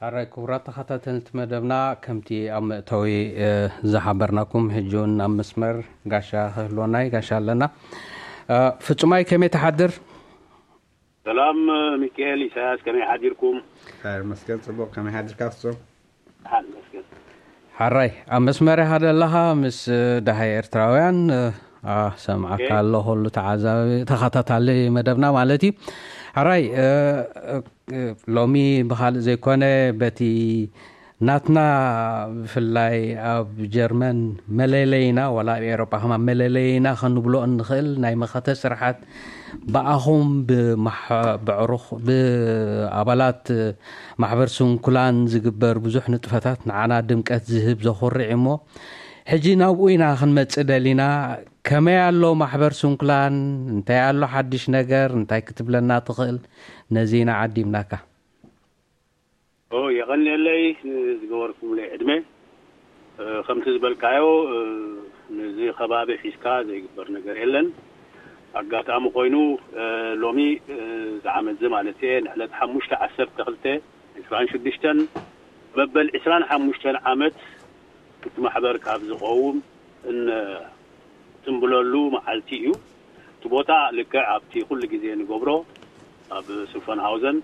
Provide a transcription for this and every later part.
ኣራይ ክቡራት ተኸታተልቲ መደብና፣ ከምቲ ኣብ መእተዊ ዝሓበርናኩም፣ ሕጂ እውን ኣብ መስመር ጋሻ ክህልወና እዩ። ጋሻ ኣለና። ፍጹማይ፣ ከመይ ትሓድር? ሰላም ሚካኤል፣ ኢሳያስ፣ ከመይ ሓዲርኩም? ይመስገን፣ ጽቡቕ። ከመይ ሓዲርካ ፍጹም? ሓን መስገን። ሓራይ፣ ኣብ መስመር ኢኻ ዘለኻ፣ ምስ ደሃይ ኤርትራውያን። ሰምዓካ ኣሎ ኩሉ ተዓዛቢ ተኸታታሊ መደብና ማለት እዩ። ሓራይ፣ ሎሚ ብኻልእ ዘይኮነ፣ በቲ ናትና፣ ብፍላይ ኣብ ጀርመን መለለይና፣ ዋላ ኣብ ኤውሮጳ ከማ መለለይና ክንብሎ እንኽእል ናይ መኸተ ስርሓት፣ ብኣኹም ብማሕ- ብዕሩኽ ብኣባላት ማሕበር ስንኩላን ዝግበር ብዙሕ ንጥፈታት ንዓና ድምቀት ዝህብ ዘኹርዕ እሞ፣ ሕጂ ናብኡ ኢና ክንመጽእ ደሊና። ከመይ ኣሎ ማሕበር ስንኩላን? እንታይ ኣሎ ሓድሽ ነገር? እንታይ ክትብለና ትኽእል? ነዚ ኢና ዓዲምናካ። ኦ፣ የቐንየለይ ዝገበርኩምለይ ዕድመ። ከምቲ ዝበልካዮ፣ ነዚ ከባቢ ሒዝካ ዘይግበር ነገር የለን። ኣጋጣሚ ኮይኑ፣ ሎሚ ዝዓመት እዚ ማለት እየ፣ ንዕለት ሓሙሽተ ዓሰርተ ክልተ ዕስራን ሽዱሽተን፣ መበል ዕስራን ሓሙሽተን ዓመት እቲ ማሕበር ካብ ዝቐውም እን- ትንብለሉ መዓልቲ እዩ። እቲ ቦታ ልክዕ ኣብቲ ኩሉ ግዜ ንገብሮ ኣብ ሱፈንሃውዘን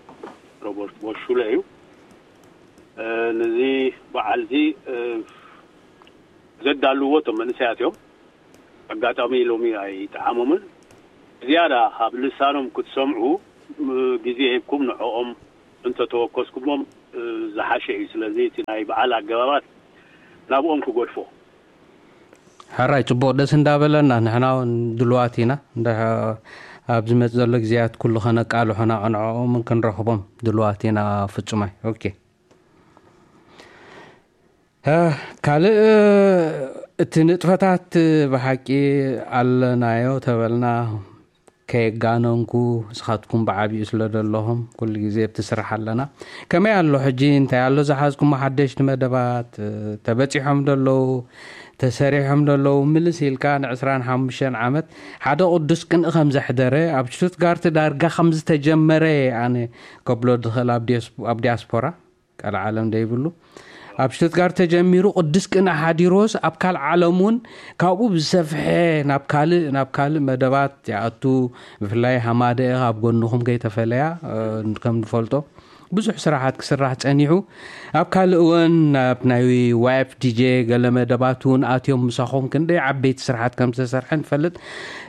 ሮበርት ቦሽ ሹለ እዩ። ነዚ በዓል እዚ ዘዳልዎ እቶም መንእሰያት እዮም። ኣጋጣሚ ሎሚ ኣይጠዓሞምን። ዝያዳ ካብ ልሳኖም ክትሰምዑ ግዜ ሂብኩም ንዕኦም እንተተወከስኩሞም ዝሓሸ እዩ። ስለዚ እቲ ናይ በዓል ኣገባባት ናብኦም ክገድፎ። ሕራይ፣ ጽቡቕ፣ ደስ እንዳበለና፣ ንሕና እውን ድልዋት ኢና። እንዳ- ኣብ ዝመጽእ ዘሎ ግዜያት ኩሉ ከነቃልሖ ንዕኦም ክንረኽቦም ድልዋት ኢና። ፍጹማይ። ኦኬ። ካልእ፣ እቲ ንጥፈታት ብሓቂ ኣለናዮ ተበልና፣ ከየጋነንኩ፣ ንስኻትኩም ብዓቢኡ ስለ ዘለኹም ኩሉ ግዜ ኣብቲ ስራሕ ኣለና። ከመይ ኣሎ ሕጂ? እንታይ ኣሎ ዝሓዝኩሞ ሓደሽቲ መደባት? ተበጺሖም ዶ ኣለዉ? ተሰሪሖም ዶ ኣለዉ? ምልስ ኢልካ ንዕስራን ሓሙሽተን ዓመት ሓደ ቅዱስ ቅንኢ ከም ዘሕደረ፣ ኣብ ሽቱትጋርት ዳርጋ ከም ዝተጀመረ እየ ኣነ ከብሎ ዝኽእል ኣብ ዲያስ- ኣብ ዲያስፖራ። ቀልዓለም ደይብሉ ኣብ ሽቱትጋርት ተጀሚሩ ቅዱስ ቅንኢ ሓዲሮስ ኣብ ካልእ ዓለም እውን ካብኡ ብዝሰፍሐ ናብ ካልእ ናብ ካልእ መደባት ይኣቱ። ብፍላይ ሃማደኤ ካብ ጎንኹም ከይተፈለያ ከም ንፈልጦ ብዙሕ ስራሓት ክስራሕ ጸኒሑ። ኣብ ካልእ እውን ናብ ናይ ዋይፍ ዲጄ ገለ መደባት እውን ኣትዮም ምሳኹም ክንደይ ዓበይቲ ስራሓት ከም ዝተሰርሐ ንፈልጥ።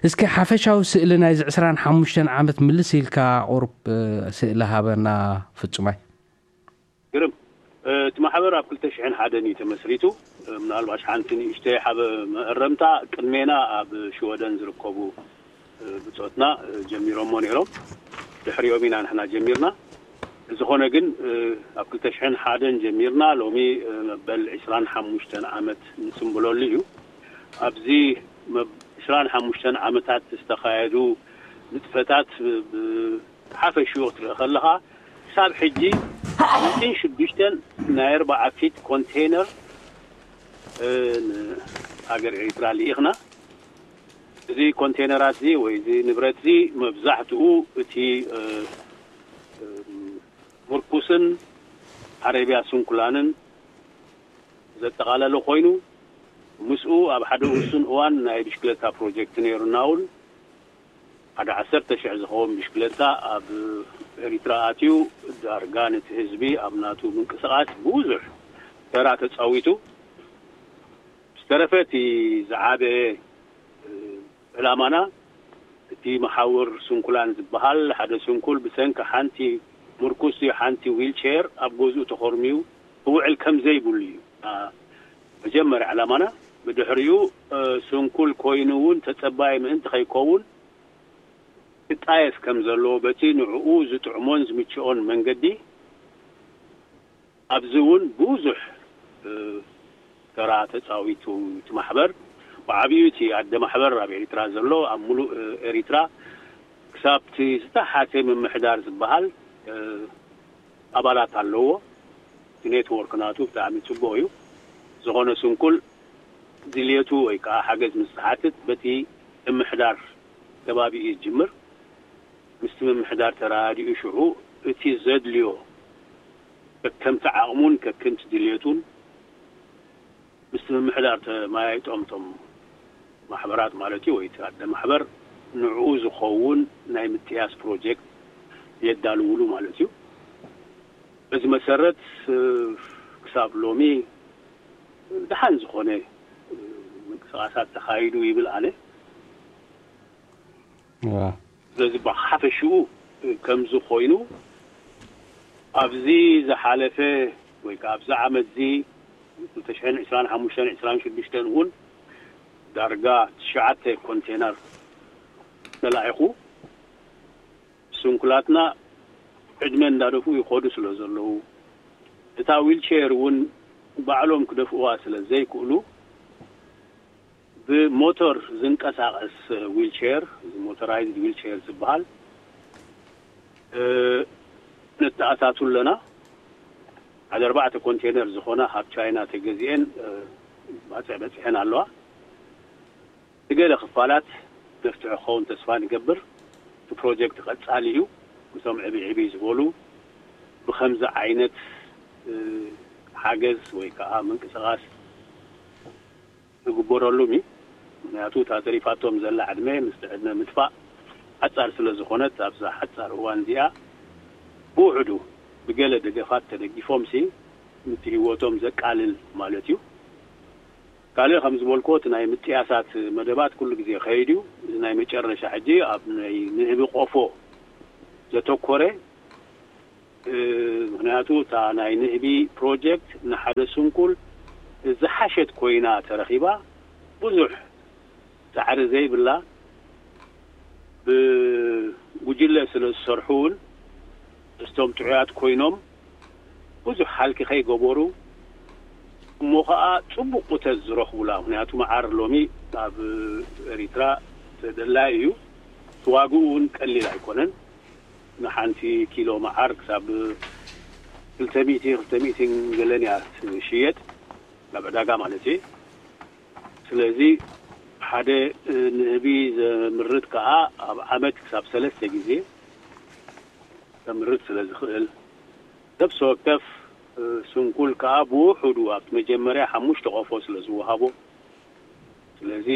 እስኪ ሓፈሻዊ ስእሊ ናይዚ ዕስራን ሓሙሽተን ዓመት ምልስ ኢልካ ቁሩብ ስእሊ ሃበና ፍጹማይ። ግርም። እቲ ማሕበር ኣብ ክልተ ሽሕን ሓደን እዩ ተመስሪቱ። ምናልባሽ ሓንቲ ንእሽተይ ሓበ መእረምታ፣ ቅድሜና ኣብ ሽወደን ዝርከቡ ብጾትና ጀሚሮሞ ነይሮም። ድሕሪኦም ኢና ንሕና ጀሚርና። ዝኾነ ግን ኣብ ክልተ ሽሕን ሓደን ጀሚርና ሎሚ መበል ዕስራን ሓሙሽተን ዓመት ንጽምብለሉ እዩ። ኣብዚ ዕስራን ሓሙሽተን ዓመታት ዝተኻየዱ ንጥፈታት ሓፈሽኡ ክትርኢ ከለኻ ክሳብ ሕጂ ሚእትን ሽዱሽተን ናይ ኣርባዓ ፊት ኮንቴነር ንሃገር ኤሪትራ ልኢኽና። እዚ ኮንቴነራት እዚ ወይ እዚ ንብረት እዚ መብዛሕትኡ እቲ ምርኩስን ዓረብያ ስንኩላንን ዘጠቓለለ ኮይኑ፣ ምስኡ ኣብ ሓደ ውሱን እዋን ናይ ብሽክለታ ፕሮጀክት ነይሩና እውን ሓደ ዓሰርተ ሽሕ ዝኸውን ብሽክለታ ኣብ ኤሪትራ ኣትዩ ዳርጋ ነቲ ህዝቢ ኣብ ናቱ ምንቅስቓስ ብዙሕ ተራ ተጻዊቱ። ዝተረፈ እቲ ዝዓበየ ዕላማና እቲ መሓውር ስንኩላን ዝበሃል ሓደ ስንኩል ብሰንኪ ሓንቲ ምርኩስ ሓንቲ ዊልቸር ኣብ ገዝኡ ተኾርሚዩ ክውዕል ከም ዘይብሉ እዩ መጀመርያ ዕላማና። ብድሕሪኡ ስንኩል ኮይኑ እውን ተጸባይ ምእንቲ ከይከውን ክጣየስ ከም ዘለዎ በቲ ንዕኡ ዝጥዕሞን ዝምችኦን መንገዲ ኣብዚ እውን ብዙሕ ተራ ተፃዊቱ እቲ ማሕበር። ብዓብዩ እቲ ኣደ ማሕበር ኣብ ኤሪትራ ዘሎ ኣብ ሙሉእ ኤሪትራ ክሳብ እቲ ዝተሓተ ምምሕዳር ዝበሃል ኣባላት ኣለዎ። እቲ ኔትወርክ ናቱ ብጣዕሚ ፅቡቅ እዩ። ዝኾነ ስንኩል ድልየቱ ወይ ከዓ ሓገዝ ምስ ዝሓትት በቲ ምምሕዳር ከባቢ እዩ ዝጅምር። ምስቲ ምምሕዳር ተረዳዲኡ ሽዑ እቲ ዘድልዮ ከከምቲ ዓቕሙን ከከምቲ ድልየቱን ምስ ምምሕዳር ተመያይጦም፣ እቶም ማሕበራት ማለት እዩ፣ ወይ እቲ ኣደ ማሕበር ንዕኡ ዝኸውን ናይ ምጥያስ ፕሮጀክት የዳልውሉ ማለት እዩ። በዚ መሰረት፣ እ፣ ክሳብ ሎሚ ደሓን ዝኾነ፣ እ፣ ምንቅስቓሳት ተኻይዱ ይብል ኣነ። ዋ ስለዚ ብሓፈሽኡ ከምዚ ኮይኑ፣ ኣብዚ ዝሓለፈ ወይ ከዓ ኣብዚ ዓመት እዚ ክልተ ሽሕን ዕስራን ሓሙሽተን ዕስራን ሽዱሽተን እውን ዳርጋ ትሽዓተ ኮንቴነር ተላኢኹ፣ ስንኩላትና ዕድመ እንዳደፍኡ ይኸዱ ስለ ዘለዉ፣ እታ ዊልቸር እውን ባዕሎም ክደፍእዋ ስለ ዘይክእሉ፣ ብሞተር ዝንቀሳቐስ ዊልቸር፣ እዚ ሞተራይዝድ ዊልቸር ዝበሃል፣ እ፣ ነተኣታቱ ኣለና። ሓደ ኣርባዕተ ኮንቴነር ዝኾና ካብ ቻይና ተገዚኤን፣ እ፣ ባፅዕ በፂሐን ኣለዋ። ንገለ ክፋላት መፍትሒ ክኸውን ተስፋ ንገብር። እቲ ፕሮጀክት ቀጻሊ እዩ። እቶም ዕብይ ዕብይ ዝበሉ ብኸምዚ ዓይነት፣ እ፣ ሓገዝ ወይ ከዓ ምንቅስቓስ ክግበረሉም እዩ። ምክንያቱ እታ ተሪፋቶም ዘላ ዕድመ ምስቲ ዕድመ ምጥፋእ ሓጻር ስለ ዝኾነት፣ ኣብዛ ሓጻር እዋን እዚኣ ብውሕዱ ብገለ ደገፋት ተደጊፎም ሲ፣ ምቲ ህይወቶም ዘቃልል ማለት እዩ። ካልእ ከም ዝበልክዎ፣ እቲ ናይ ምጥያሳት መደባት ኩሉ ግዜ ከይድ እዩ። እዚ ናይ መጨረሻ ሕጂ ኣብ ናይ ንህቢ ቆፎ ዘተኮረ፣ እ፣ ምክንያቱ እታ ናይ ንህቢ ፕሮጀክት ንሓደ ስንኩል ዝሓሸት ኮይና ተረኺባ፣ ብዙሕ ጻዕሪ ዘይብላ፣ ብጉጅለ ስለ ዝሰርሑ እውን፣ እስቶም ጥዑያት ኮይኖም ብዙሕ ሃልኪ ከይገበሩ፣ እሞ ኸዓ ጽቡቕ ቁተት ዝረኽቡላ። ምክንያቱ መዓር ሎሚ ኣብ ኤሪትራ ተደላይ እዩ። እቲ ዋግኡ እውን ቀሊል ኣይኮነን። ንሓንቲ ኪሎ መዓር ክሳብ ክልተ ሚእቲ፣ ክልተ ሚእትን ገለን እያ ትሽየጥ፣ ናብ ዕዳጋ ማለት እዩ። ስለዚ ሓደ፣ እ፣ ንህቢ ዘምርት ከኣ ኣብ ዓመት ክሳብ ሰለስተ ግዜ ዘምርት ስለ ዝኽእል፣ ነፍሲ ወከፍ፣ እ፣ ስንኩል ከኣ ብውሑዱ ኣብቲ መጀመርያ ሓሙሽተ ቆፎ ስለ ዝወሃቦ፣ ስለዚ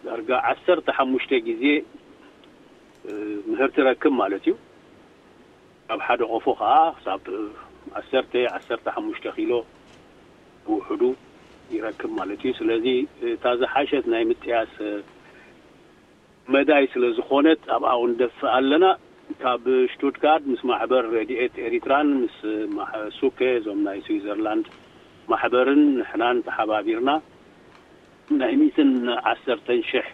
ዳርጋ ዓሰርተ ሓሙሽተ ግዜ፣ እ፣ ምህርቲ ረክብ ማለት እዩ። ኣብ ሓደ ቆፎ ከኣ ክሳብ ዓሰርተ፣ ዓሰርተ ሓሙሽተ ኪሎ ብውሕዱ ይረክብ ማለት እዩ። ስለዚ እታ ዝሓሸት ናይ ምጥያስ መዳይ ስለ ዝኾነት ኣብኣ እውን ደፍእ ኣለና። ካብ ሽቱትጋርድ ምስ ማሕበር ረድኤት ኤሪትራን ምስ ማሕ-፣ ሱከ፣ እዞም ናይ ስዊዘርላንድ ማሕበርን ንሕናን ተሓባቢርና ናይ ሚእትን ዓሰርተን ሽሕ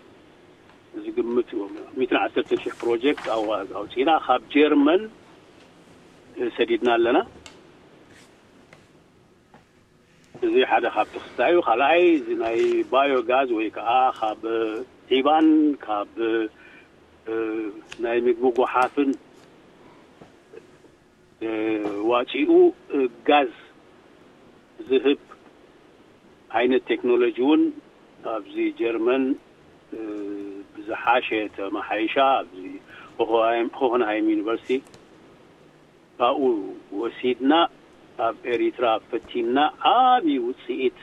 ዝግምት፣ ሚእትን ዓሰርተን ሽሕ ፕሮጀክት ኣዋ-፣ ኣውፂና ካብ ጀርመን ሰዲድና ኣለና። እዚ ሓደ ካብ ተኽስታይ እዩ። ካልኣይ፣ እዚ ናይ ባዮ ጋዝ ወይ ከዓ ካብ ዒባን ካብ፣ እ፣ ናይ ምግቢ ጓሓፍን፣ እ፣ ዋፂኡ፣ እ፣ ጋዝ ዝህብ ዓይነት ቴክኖሎጂ እውን ኣብዚ ጀርመን፣ እ፣ ብዝሓሸ ተመሓይሻ፣ ኣብዚ ሆሆንሃይም፣ ሆሆንሃይም ዩኒቨርሲቲ ካብኡ ወሲድና ኣብ ኤሪትራ ፈቲንና ዓብዪ ውፅኢት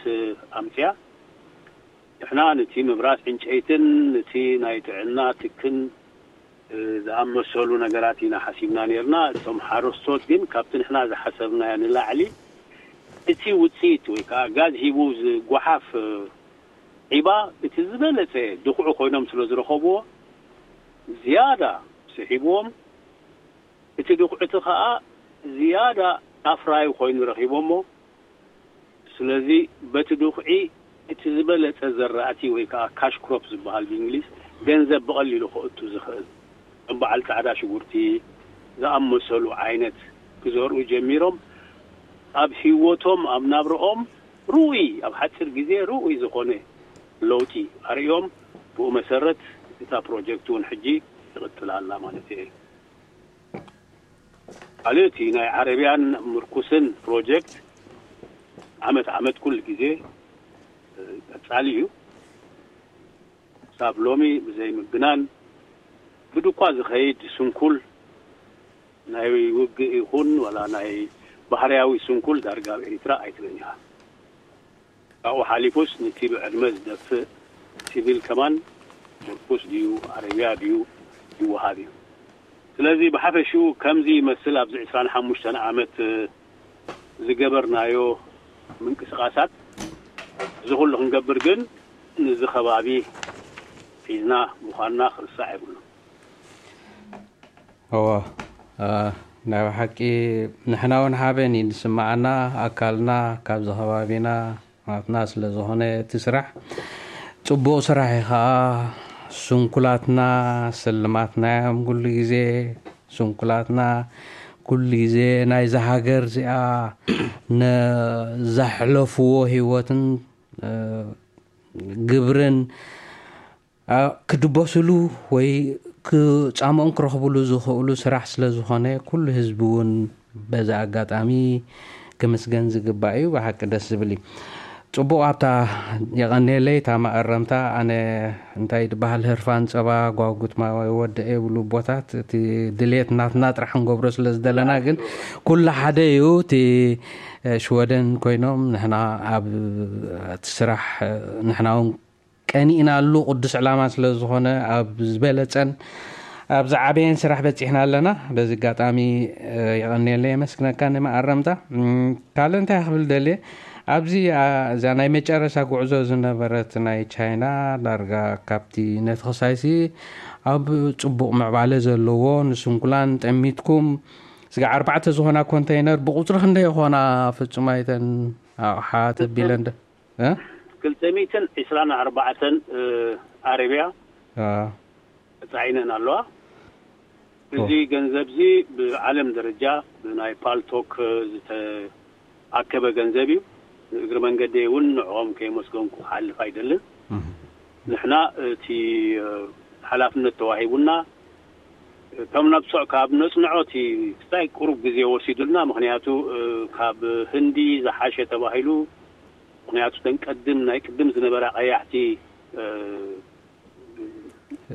ኣምፅያ። ንሕና ነቲ ምብራስ ዕንጨይትን ነቲ ናይ ጥዕና ትክን፣ እ፣ ዝኣመሰሉ ነገራት ኢና ሓሲብና ነርና። እቶም ሓረስቶት ግን ካብቲ ንሕና ዝሓሰብናዮ ንላዕሊ እቲ ውፅኢት ወይ ከዓ ጋዝ ሂቡ ዝጓሓፍ፣ እ፣ ዒባ እቲ ዝበለፀ ድኹዒ ኮይኖም ስለ ዝረኸብዎ ዝያዳ ስሒብዎም፣ እቲ ድኹዒ እቲ ከዓ ዝያዳ ኣፍራዩ ኮይኑ ረኺቦሞ። ስለዚ በቲ ድኹዒ እቲ ዝበለፀ ዘራእቲ ወይ ከዓ ካሽ ክሮፕ ዝበሃል ብእንግሊዝ ገንዘብ ብቐሊሉ ከእቱ ዝኽእል ከም በዓል ፃዕዳ ሽጉርቲ ዝኣመሰሉ ዓይነት ክዘርኡ ጀሚሮም። ኣብ ህይወቶም፣ ኣብ ናብረኦም ርኡይ፣ ኣብ ሓፂር ግዜ ርኡይ ዝኾነ ለውጢ ኣርእዮም። ብኡ መሰረት እታ ፕሮጀክት እውን ሕጂ ትቕፅል ኣላ ማለት እየ። ካልእ እቲ ናይ ዓረብያን ምርኩስን ፕሮጀክት ዓመት ዓመት ኩሉ ግዜ፣ እ፣ ቀጻሊ እዩ። ክሳብ ሎሚ ብዘይ ምግናን ብድኳ ዝኸይድ ስንኩል ናይ ውግእ ይኹን ዋላ ናይ ባህርያዊ ስንኩል ዳርጋ ኣብ ኤሪትራ ኣይትብልኛ። ካብኡ ሓሊፉስ ንቲ ብዕድመ ዝደፍእ ሲቪል ከማን ርኩስ ድዩ ኣረብያ ድዩ ይወሃብ እዩ። ስለዚ ብሓፈሽኡ ከምዚ ይመስል ኣብዚ ዕስራን ሓሙሽተን ዓመት ዝገበርናዮ ምንቅስቃሳት። እዚ ኩሉ ክንገብር ግን ንዚ ከባቢ ሒዝና ምዃንና ክርሳዕ የብሉ። እዎ፣ ናይ ብሓቂ ንሕና እውን ሓበን እዩ ዝስምዓና። ኣካልና ካብዚ ከባቢና ናትና ስለ ዝኾነ እቲ ስራሕ ጽቡቕ ስራሕ እዩ። ከዓ ስንኩላትና ስልማትና እዮም ኩሉ ግዜ። ስንኩላትና ኩሉ ግዜ ናይዛ ሃገር እዚኣ ነዛሕለፍዎ ህይወትን ግብርን ክድበስሉ ወይ ክጻምኦም ክረኽብሉ ዝኽእሉ ስራሕ ስለ ዝኾነ ኩሉ ህዝቢ እውን በዚ ኣጋጣሚ ክምስገን ዝግባእ እዩ። ብሓቂ ደስ ዝብል እዩ። ጽቡቕ ኣብታ የቐንየለይ እታ መኣረምታ። ኣነ እንታይ ዝበሃል ህርፋን ጸባ ጓጉት ማይ ወደ የብሉ ቦታት እቲ ድሌት ናትና ጥራሕ ንገብሮ ስለ ዝደለና ግን ኩሉ ሓደ እዩ። እቲ ሽወደን ኮይኖም ንሕና ኣብ እቲ ስራሕ ንሕና እውን ቀኒእናሉ ቅዱስ ዕላማ ስለ ዝኾነ ኣብ ዝበለጸን ኣብ ዝዓበየን ስራሕ በጺሕና ኣለና። በዚ ኣጋጣሚ የቐንየለይ የመስግነካ ንመኣረምታ። ካልእ እንታይ ክብል ደልየ ኣብዚ እዛ ናይ መጨረሻ ጉዕዞ ዝነበረት ናይ ቻይና ዳርጋ ካብቲ ነቲ ክሳይሲ ኣብ ጽቡቕ ምዕባለ ዘለዎ ንስንኩላን ጠሚትኩም ስጋ ኣርባዕተ ዝኾና ኮንተይነር ብቁፅሪ ክንደይ ይኾና ፍጹም ኣይተን ኣቕሓ ተቢለን ዶ ክልተ ሚእትን ዕስራን ኣርባዕተን ኣረብያ ተፃዒነን ኣለዋ። እዚ ገንዘብ እዚ ብዓለም ደረጃ ብናይ ፓልቶክ ዝተኣከበ ገንዘብ እዩ። ንእግሪ መንገደይ እውን ንዕኦም ከየመስገንኩ ክሓልፍ ኣይደልን። ንሕና እቲ ሓላፍነት ተዋሂቡና ከም ነብሶ ካብ ነፅንዖ እቲ ክስታይ ቁሩብ ግዜ ወሲዱልና። ምክንያቱ ካብ ህንዲ ዝሓሸ ተባሂሉ። ምክንያቱ ተን ቀድም ናይ ቅድም ዝነበራ ቀያሕቲ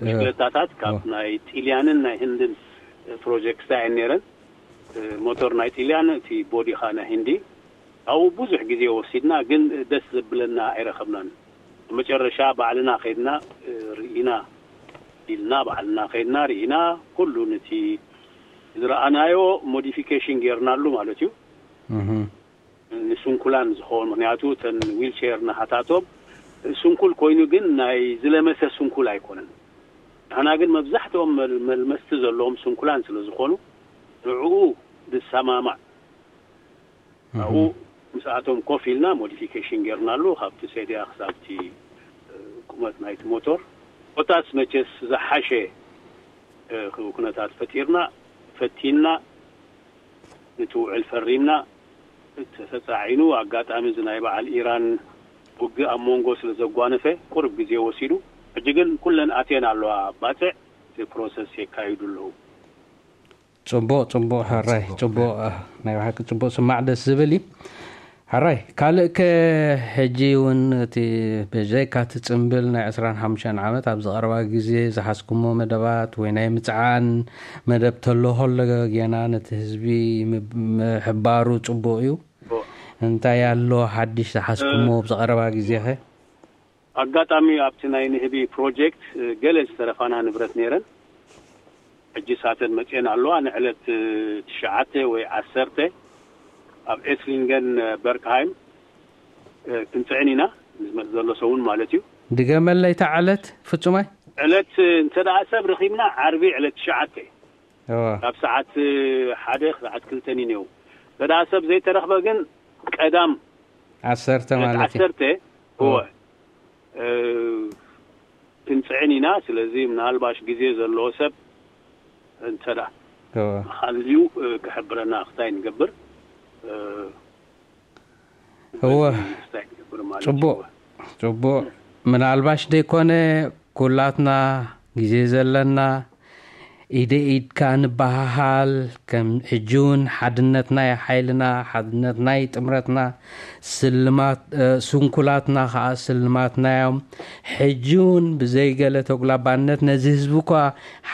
ብሽክለታታት ካብ ናይ ጢልያንን ናይ ህንድን ፕሮጀክትስ እየን ነይረን። ሞተር ናይ ጢልያን እቲ ቦዲኻ ናይ ህንዲ። ኣብኡ ብዙሕ ግዜ ወሲድና ግን ደስ ዘብለና ኣይረኸብናን። መጨረሻ ባዕልና ከይድና ርኢና ኢልና ባዕልና ከይድና ርኢና ኩሉ ነቲ ዝረኣናዮ ሞዲፊኬሽን ጌርናሉ ማለት እዩ። ንስንኩላን ዝኸውን ምክንያቱ እተን ዊልቸር ናሃታቶም ስንኩል ኮይኑ ግን ናይ ዝለመሰ ስንኩል ኣይኮነን። ንሕና ግን መብዛሕትኦም መልመስቲ ዘለዎም ስንኩላን ስለ ዝኾኑ ንዕኡ ዝሰማማዕ ኣብኡ ምስኣቶም ኮፍ ኢልና ሞዲፊኬሽን ጌርናሉ ካብቲ ሴድያ ክሳብቲ ቁመት ናይቲ ሞቶር። ኮታስ መቸስ ዝሓሸ ኩነታት ፈጢርና ፈቲንና እቲ ውዕል ፈሪምና። ተተፃዒኑ ኣጋጣሚ እዚ ናይ በዓል ኢራን ውግእ ኣብ መንጎ ስለ ዘጓነፈ ቁርብ ግዜ ወሲዱ። ሕጂ ግን ኩለን ኣትየን ኣለዋ ባፅዕ እቲ ፕሮሰስ የካይዱ ኣለዉ። ፅቡቕ ፅቡቕ ሕራይ ፅቡቕ ናይ ብሓቂ ፅቡቕ ስማዕ ደስ ዝብል እዩ። ሕራይ ካልእ ከ ሕጂ እውን እቲ ብዘይካ እቲ ፅምብል ናይ ዕስራን ሓሙሽተን ዓመት ኣብዚ ቀረባ ግዜ ዝሓዝኩሞ መደባት ወይ ናይ ምፅዓን መደብ ተሎ ከሎ ጌና ነቲ ህዝቢ ምሕባሩ ፅቡቕ እዩ። እንታይ ኣሎ ሓድሽ ዝሓዝኩሞ ኣብዚ ቀረባ ግዜ ኸ? ኣጋጣሚ ኣብቲ ናይ ንህቢ ፕሮጀክት ገለ ዝተረፋና ንብረት ነይረን። ሕጂ ሳተን መፅኤን ኣለዋ። ንዕለት ትሽዓተ ወይ ዓሰርተ ኣብ ኤስሊንገን በርክሃይም ክንፅዕን ኢና። ንዝመፅ ዘሎ ሰውን ማለት እዩ። ድገመለይ እታ ዕለት ፍፁማይ። ዕለት እንተ ደኣ ሰብ ረኺብና ዓርቢ ዕለት ትሽዓተ ካብ ሰዓት ሓደ ክሳዓት ክልተን እዩ ነው። እንተ ደኣ ሰብ ዘይተረኽበ ግን ቀዳም ዓሰርተ ማለት እዩ። ዓሰርተ እወ ክንፅዕን ኢና። ስለዚ ምናልባሽ ግዜ ዘለዎ ሰብ እንተ ደኣ ሃልዩ ክሕብረና ክታይ ንገብር እወ። ፅቡቕ ፅቡቕ። ምናልባሽ ደይኮነ ኩላትና ግዜ ዘለና ኢደ ኢድካ ንበሃሃል። ከም ሕጂ እውን ሓድነትና እዩ ሓይልና፣ ሓድነትና እዩ ጥምረትና። ስልማት ስንኩላትና ከዓ ስልማትና እዮም። ሕጂ እውን ብዘይገለ ተጉላባነት ነዚ ህዝቢ እኳ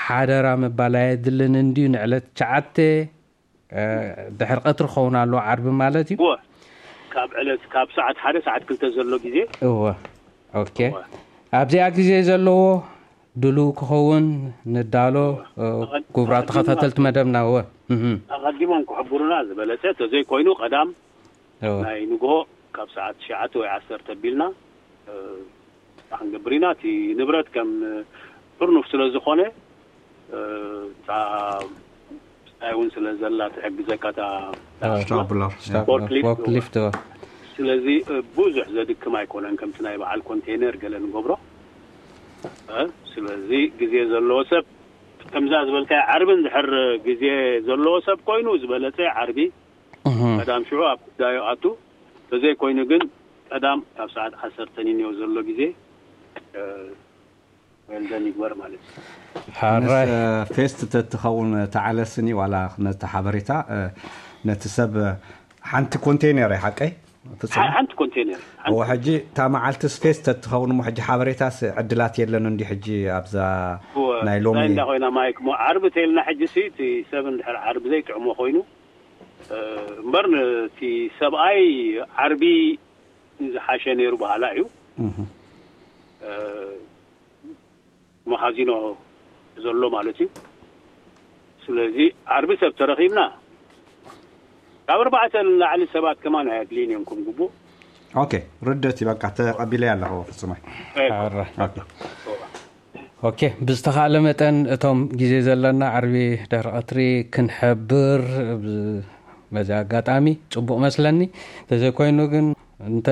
ሓደራ ምባል ኣየድልን እንድዩ። ንዕለት ትሽዓተ ድሕሪ ቀትሪ ክኸውን ኣለዎ፣ ዓርቢ ማለት እዩ። እወ ካብ ዕለት ካብ ሰዓት ሓደ ሰዓት ክልተ ዘሎ ግዜ። እወ ኦኬ። ኣብዚኣ ግዜ ዘለዎ ድሉው ክኸውን ንዳሎ። ክቡራት ተኸታተልቲ መደብና። እወ ኣቐዲሞም ክሕብሩና ዝበለፀ፣ ተዘይኮይኑ ቀዳም ናይ ንግሆ ካብ ሰዓት ትሽዓተ ወይ ዓሰርተ ኣቢልና ክንገብር ኢና። እቲ ንብረት ከም ጥርኑፍ ስለ ዝኾነ፣ እታ ብስታይ እውን ስለ ዘላ ትሕግዘካ እታ ስታፕላር ፎርክሊፍት። ፎርክሊፍት። ስለዚ ብዙሕ ዘድክም ኣይኮነን፣ ከምቲ ናይ በዓል ኮንቴነር ገለ ንገብሮ። ስለዚ ግዜ ዘለዎ ሰብ፣ ከምዛ ዝበልካዮ ዓርቢ እንድሕር ግዜ ዘለዎ ሰብ ኮይኑ ዝበለፀ ዓርቢ ቀዳም ሽዑ ኣብ ጉዳዩ ኣቱ። ተዘይኮይኑ ግን ቀዳም ካብ ሰዓት ዓሰርተ ንንዮ ዘሎ ግዜ ወልደን ይግበር ማለት እዩ። ሓራይ ምስ ፌስት ተትኸውን ተዓለስኒ ዋላ ነቲ ሓበሬታ ነቲ ሰብ ሓንቲ ኮንቴነር እያ ሓቀይ ፍጹም ሓንቲ ኮንቴነር እዎ ሕጂ እታ መዓልትስ ፌስት ተትኸውን እሞ ሕጂ ሓበሬታስ ዕድላት የለን እንዲ ሕጂ ኣብዛ ናይ ሎሚ እንዳ ኮይና ማይክ ሞ ዓርቢ ተልና ሕጂ ሲ እቲ ሰብ እንድሕር ዓርቢ ዘይጥዕሞ ኮይኑ እምበር እቲ ሰብኣይ ዓርቢ ዝሓሸ ነይሩ በሃላ እዩ። መኻዚኖ ዘሎ ማለት እዩ። ስለዚ ዓርቢ ሰብ ተረኺብና ካብ ኣርባዕተ ንላዕሊ ሰባት ከማን ኣየድልይን እዮም ከም ግቡእ። ኦኬ ርደት በቃ ተቐቢለ ኣለኹ ፍጹመ። ሓራይ ኦኬ ኦኬ ብዝተኻእለ መጠን እቶም ግዜ ዘለና ዓርቢ ድሕሪ ቀትሪ ክንሕብር በዚ ኣጋጣሚ ጽቡቕ መስለኒ። ተዘይኮይኑ ግን እንተ